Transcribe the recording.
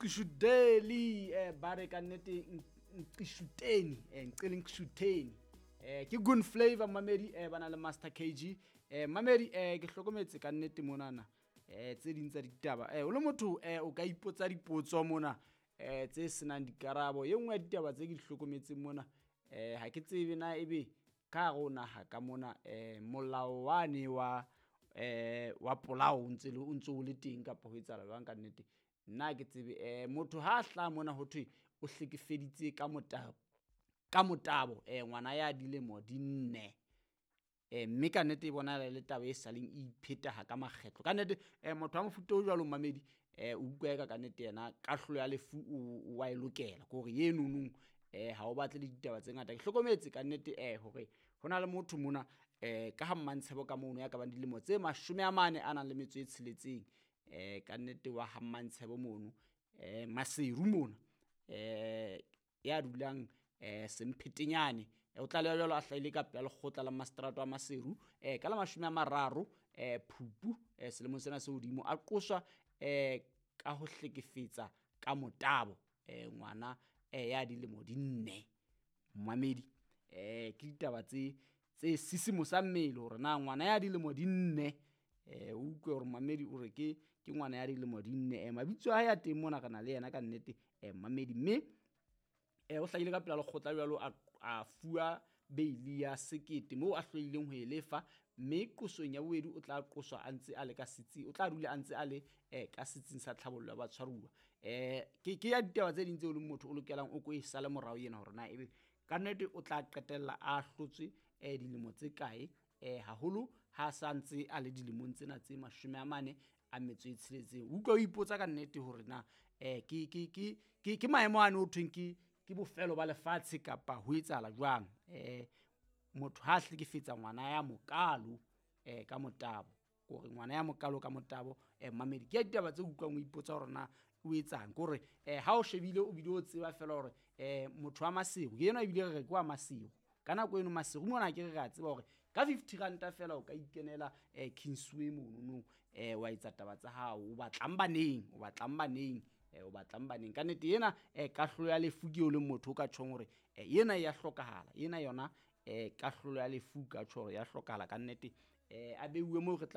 Nqishudeli ba re ka nnete Nqishuteni Nqele Nqishuteni ke Good Flavor mamedi ba na le Master KG mamedi ke hlokometse ka nnete monana tse ding tsa ditaba o le motho o ka ipotsa dipotso mona tse senang dikarabo. E nngwe ya ditaba tse ke di hlokometseng mona ha ke tsebe na ebe ka hare ho naha ka mona molao wane wa wa polao o ntse o ntse o le teng kapa ho etsahala jwang ka nnete. Nna ha ke tsebe motho ha a hlaha mona ho thwe o hlekefeditse ka motabo ka motabo ngwana ya dilemo di 4 mme ka nnete e bonahala e le taba e saleng e iphetaha ka makgetlo. Ka nnete motho wa mofuta o jwalo mamedi o utlwa eka ka nnete yena kahlolo ya lefu o wa e lokela, ke hore enonong ha o batle le ditaba tse ngata. Ke hlokometse ka nnete hore ho na le motho mona ka ha Mmantshebo ka mono ya ka bang dilemo tse 46 ka nnete wa ha Mmantshebo mono Maseru mona ya dulang Semphetenyane o tlaleha jwalo a hlahile ka pela lekgotla la maseterata wa Maseru ka la 30 Phupu selemong sena se hodimo, a qoswa ka ho hlekefetsa ka motabo ngwana ya dilemo di 4. Mamedi ke ditaba tse sisimosang mmele hore na ngwana ya dilemo di 4 o utlwe hore mamedi o re ke ngwana ya dilemo di 4. Mabitso a hae a teng mona re na le yena ka nnete mamedi, mme o hlahile ka pela lekgotla jwalo a fuwa beili ya 1000 moo a hlolehileng ho e lefa, mme qosong ya bobedi o tla qoswa a ntse a le ka setsing, o tla dula a ntse a le ka setsing sa tlhabollo ya batshwaruwa. Ke ya ditaba tse ding tseo leng motho o lokelang o ko e sale morao ena hore na ebe ka nnete o tla qetella a hlotswe dilemo tse kae haholo ha sa ntse a le dilemong tsena tse 46. O utlwa o ipotsa ka nnete hore na ke maemo ano ho thweng ke bofelo ba lefatshe kapa ho etsahala jwang. Motho ha a hlekefetsa ngwana ya mokalo ka motabo, hore ngwana ya mokalo ka motabo mamedi ke ya ditaba tse utlwang o ipotsa hore na o etsang, ke hore ha o shebile o bile o tseba fela hore motho wa Maseru yena ebile re re ke wa Maseru ka nako eno Maseru mona ke re a tseba hore ka 50 ranta fela o ka ikenela Kingsway mono wa etsa taba tsa hao, o batlang baneng o batlang baneng ka nnete ena kahlolo ya lefu ke o leng motho o ka tjhong hore ena ya hlokahala, ena yona kahlolo ya lefu ka tjho hore ya hlokahala ka nnete a beuwe moo re tla.